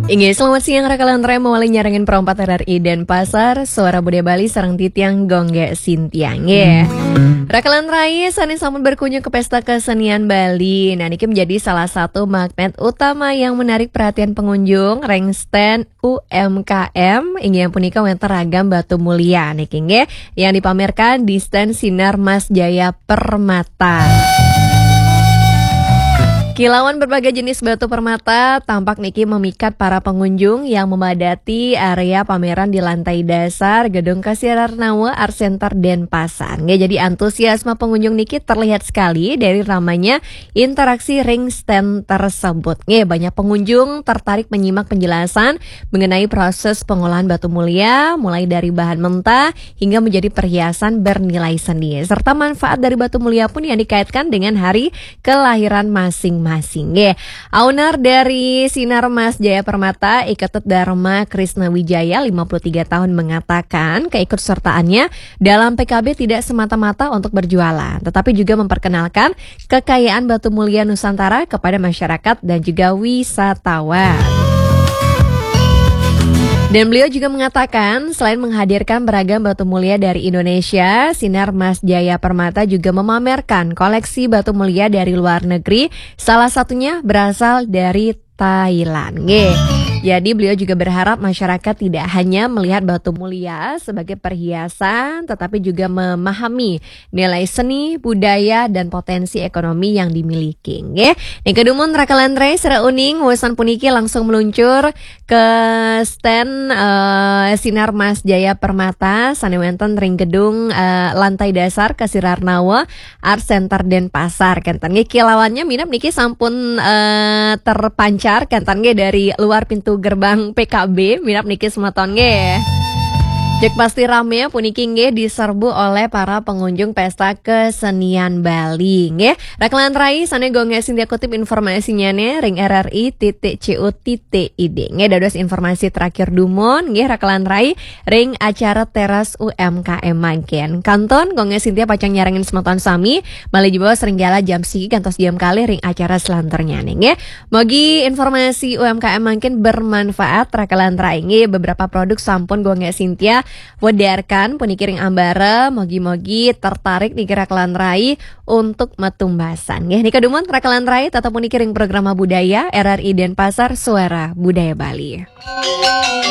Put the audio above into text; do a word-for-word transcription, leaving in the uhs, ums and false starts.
Inggih, selamat siang, Raka Lantarai, mawali nyarengin Pro empat R R I Denpasar, Suara Budaya Bali, sareng titiang Gongge Sintiang, nggih. Raka Lantarai, sané sampun berkunjung ke Pesta Kesenian Bali. Nah, niki menjadi salah satu magnet utama yang menarik perhatian pengunjung, ring stand U M K M, inggih punika wénten ragam batu mulia niki, nggih, yang dipamerkan di stand Sinar Mas Jaya Permata. Kilauan berbagai jenis batu permata tampak niki memikat para pengunjung yang memadati area pameran di lantai dasar Gedung Kasirarnawa Art Center Denpasar. Nggih, jadi antusiasme pengunjung niki terlihat sekali dari ramainya interaksi ring stand tersebut. Nggih, banyak pengunjung tertarik menyimak penjelasan mengenai proses pengolahan batu mulia, mulai dari bahan mentah hingga menjadi perhiasan bernilai seni. Serta manfaat dari batu mulia pun yang dikaitkan dengan hari kelahiran masing-masing. Nggih. Owner dari Sinar Mas Jaya Permata, I Ketut Dharma Krisna Wijaya, lima puluh tiga tahun, mengatakan keikutsertaannya dalam P K B tidak semata-mata untuk berjualan, tetapi juga memperkenalkan kekayaan batu mulia Nusantara kepada masyarakat dan juga wisatawan. Dan beliau juga mengatakan, selain menghadirkan beragam batu mulia dari Indonesia, Sinar Mas Jaya Permata juga memamerkan koleksi batu mulia dari luar negeri, salah satunya berasal dari Thailand. Nggih. Jadi, beliau juga berharap masyarakat tidak hanya melihat batu mulia sebagai perhiasan, tetapi juga memahami nilai seni, budaya, dan potensi ekonomi yang dimiliki. Nggih. Ning kedumun, Raka Lantarai, sira uning, wusan puniki langsung meluncur ke stand, eh, Sinar Mas Jaya Permata, sané wénten ring gedung, eh, lantai dasar Kasirarnawa Art Center Denpasar. Kénten nggih, kilauannya minab niki sampun, eh, terpancar, kénten nggih, dari luar pintu gerbang P K B, minab niki semeton nggih. Jek pasti rame puniki nggih diserbu oleh para pengunjung Pesta Kesenian Bali nggih. Raka Lantarai, sané Gongge Sintia kutip informasinya nih ring R R I titik C O titik I D. Nggih, dados informasi terakhir dumun nggih, Raka Lantarai, ring acara Teras U M K M mangkin. Kantun Gongge Sintia pacang nyarengin semeton sami malih jebos ring kala jam siki kantos jam kalih ring acara selanturnya nih nggih. Mogi informasi U M K M mangkin bermanfaat, Raka Lantarai, nggih. Beberapa produk sampun Gongge Sintia wedarkan puniki ring ambara, mogi-mogi tertarik niki, Raka Lantarai, untuk matumbasan. Nggih, nika dumun, Raka Lantarai, tetep puniki ring Programa Budaya R R I Denpasar, Suara Budaya Bali.